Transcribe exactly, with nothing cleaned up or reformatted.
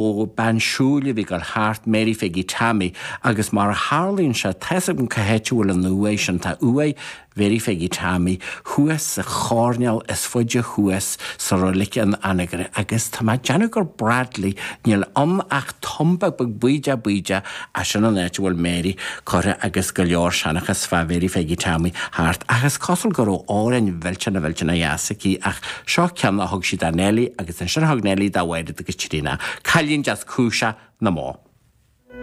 ó bean siúil a bhí ag dul thart, Mary Pheigí Tommy, agus mar a tharlaíonn sé, tá's agam cá háit a bhfuil an uaigh sin, tá uaigh Mhary Pheigí Tommy thuas sa choirnéal is faide thuas sa roilig in Anagaire agus tá mé ag déanamh gur Bradley, níl ann ach tumba beag bídeach bídeach ach sin an áit a bhfuil Mary curtha agus go leor seanchas fá Mhary Pheigí Tommy thart ach is cosúil go raibh amhráin mhillteanach mhillteanach dheas aici ach seo ceann a thug sí do Nellie agus ansin thug Nellie do Mháiréad agus Tríona. Cailín deas cúiseach na mbó.